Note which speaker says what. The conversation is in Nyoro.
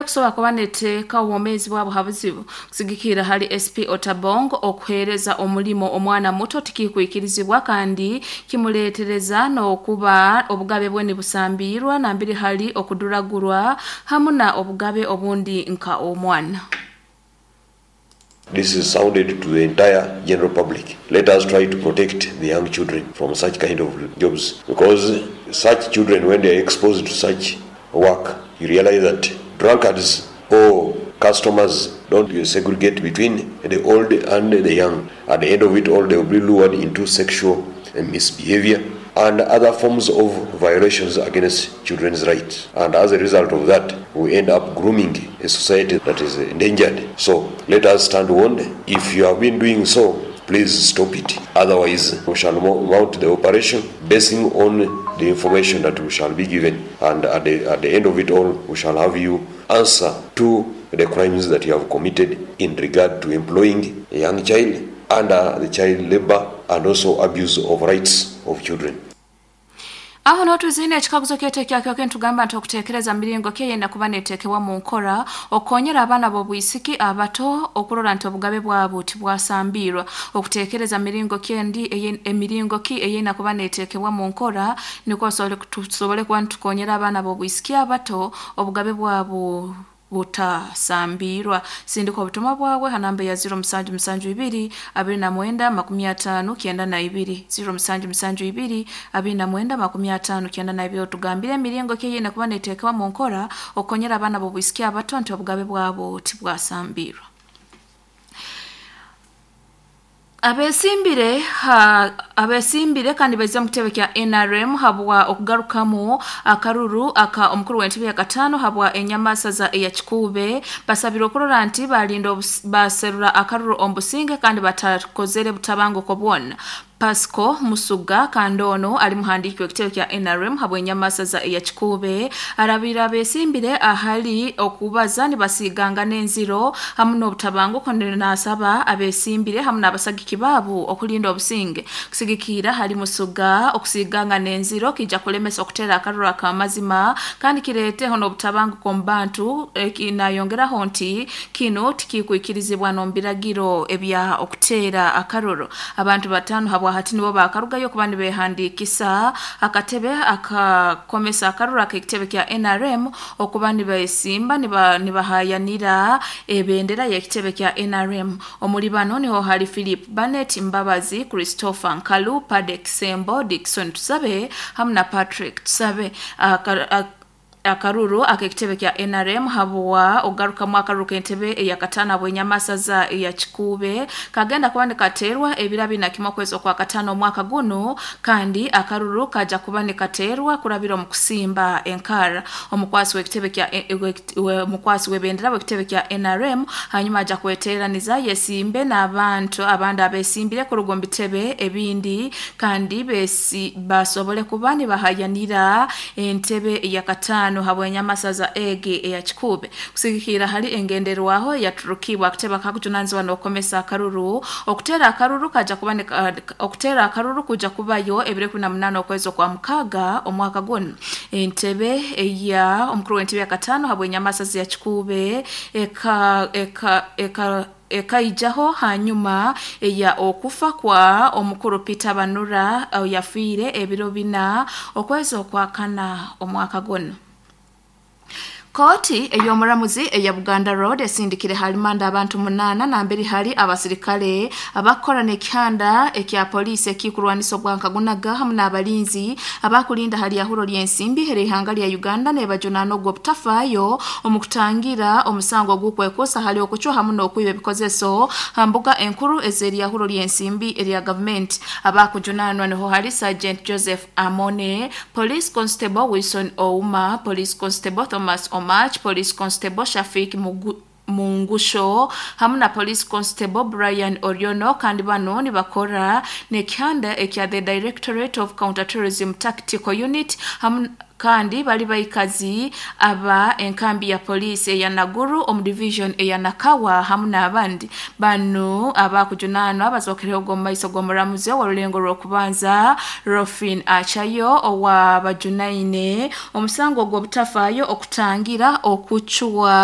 Speaker 1: Kusobora kuba neteeka obwomeezi bwabo ha buzibu. Kusigikirra hali SP Otabong, okuheereza omulimo omwana muto tikikwikirizibwa kandi kimuleetereza n'okuba obugabe bwe nibusambirwa nambere hali okuduragurwa hamu na obugabe obundi nka omwana.
Speaker 2: This is sounded to the entire general public. Let us try to protect the young children from such kind of jobs, because such children, when they are exposed to such work, you realize that drunkards or customers don't segregate between the old and the young. At the end of it all, they will be lured into sexual misbehavior and other forms of violations against children's rights. And as a result of that, we end up grooming a society that is endangered. So let us stand warned. If you have been doing so, please stop it. Otherwise, we shall mount the operation basing on the information that we shall be given. And at the end of it all, we shall have you answer to the crimes that you have committed in regard to employing a young child under the child labor and also abuse of rights of children.
Speaker 1: Aho notuzine ekikaguzo kyaitu ekyakyoke nitugamba nti okuteekereza miringo ki eyenda kuba neteekebwa mu nkora okukonyera abaana b'obwisiki abato okurora nti obugabe bwabo tibwasambirwa. Okuteekereza miringo ki endi emiringo ki eyina kuba neteekebwa mu nkora nikwo tusobole kuba nitukonyera abaana b'obwisiki abato obugabe bwabo butasambirwa. Sindika obutumwa bwawe ha namba ya 0772 29 50 92, 0772 29 50 92. Otugambire emiringo ki eyina kuba neteekebwa mu nkora okukonyera abaana b'obwisiki abato nti obugabe bwabo tibwasambirwa. Abesimbire ha abesimbire kandi baize mu kitebe kya NRM habwa okugarukamu akaruru aka omukuru w'entebe ya katano habwa enyamasaza eya Kikuube basabire okurora nti balinda baserura akaruru omubusinge kandi batakozere butabanguko bwona. Pasco Musuga, kandi ono ali muhandiiki w'ekitebe kya NRM habwa enyamasaza eya Kikuube, arabira abesimbire ahali okubaza nibasiganga n'enziro hamu n'obutabanguko. Nasaba abesimbire hamu n'abasagiki baabo okulinda obusinge. Kusigikira hali Musuga, okusiganga n'enziro kijja kulemesa okuteera akaruru akamazima kandi kireeteho n'obutabanguko mu bantu. Nayongeraho nti kinu tikikwikirizibwa n'omu ebya okuteera akaruru. Abantu 5 habwa hati nibo bakarugayo kuba nibehandiikisa akatebe akakomesa akaruru ak'ekitebe kya NRM okuba nibesimba nibahayanira ebendera y'ekitebe kya NRM. Omuli bano niho hali Philip Barnett Mbabazi, Christopher Nkalu, Padek Sembo, Dickson Tusabe hamu na Patrick Tusabe. Akaruru ak'ekitebe kya NRM habwa ogarukamu akaruru k'entebe eyakataano habw'enyamasaza eya Kikuube kagenda kuba nikateerwa ebiro 21 okwezi okwa katano omwaka guno, kandi akaruru kaja kuba nikateerwa kurabira omu kusimba enkara. Omukwasi w'ekitebe kya omukwasi w'ebendera w'ekitebe kya NRM hanyuma aja kweteraniza yesimbe n'abantu abandi abesimbire kuruga omu bitebe ebindi kandi besi basobole kuba nibahayanira entebe eyakataano habw'enyamasaza egi eya Kikuube. Kusigikira hali engenderwaho yaturukibwa akatebe kakujunanizibwa n'okukomesa akaruru, okuteera akaruru kaja kuba okuteera akaruru kuja kubayo ebiro 18 okwezi okwa mukaaga omwaka guno. Entebe eya omukuru w'entebe ya katano habw'enyamasaza ya Kikuube eka eka eka ekaijaho hanyuma eya okufa kwa omukuru Peter Banura yafiire ebiro 4 okwezi okwa kana omwaka guno. Kooti ey'omuramuzi eya Buganda Road esindikire halimanda abantu 8 nambere hali abasirikale abakora n'ekihanda ekya poliisi ekikurwanisa obwankagunaga hamu n'abalinzi abakulinda hali ahuro ly'ensimbi erihanga lya Uganda, nebajunaana ogwo obutafaayo omu kutangira omusango ogw'okwekuusa hali okucwa hamu n'okwiba ebikozeso ha mbuga enkuru ez'eryahuro ly'ensimbi erya gavumenti. Abakujunaanwa niho hali Sergeant Joseph Amone, Police Constable Wilson Ouma, Police Constable Thomas Omach, Police Constable Shafik Mungusho hamu na Police Constable Brian Oriono, kandi bano nibakora n'ekihanda ekya the Directorate of Counter-Terrorism Tactical Unit hamu kandi bali baikazi aba enkambi ya poliisi eya Naguru omu division eya Nakawa hamu n'abandi. Bano abakujunaanwa bazookereho omu maiso g'omuramuzi ow'orulengo rw'okubanza Rofin Achayo, owabajunaine omusango ogw'obutafaayo okutangira okucwa.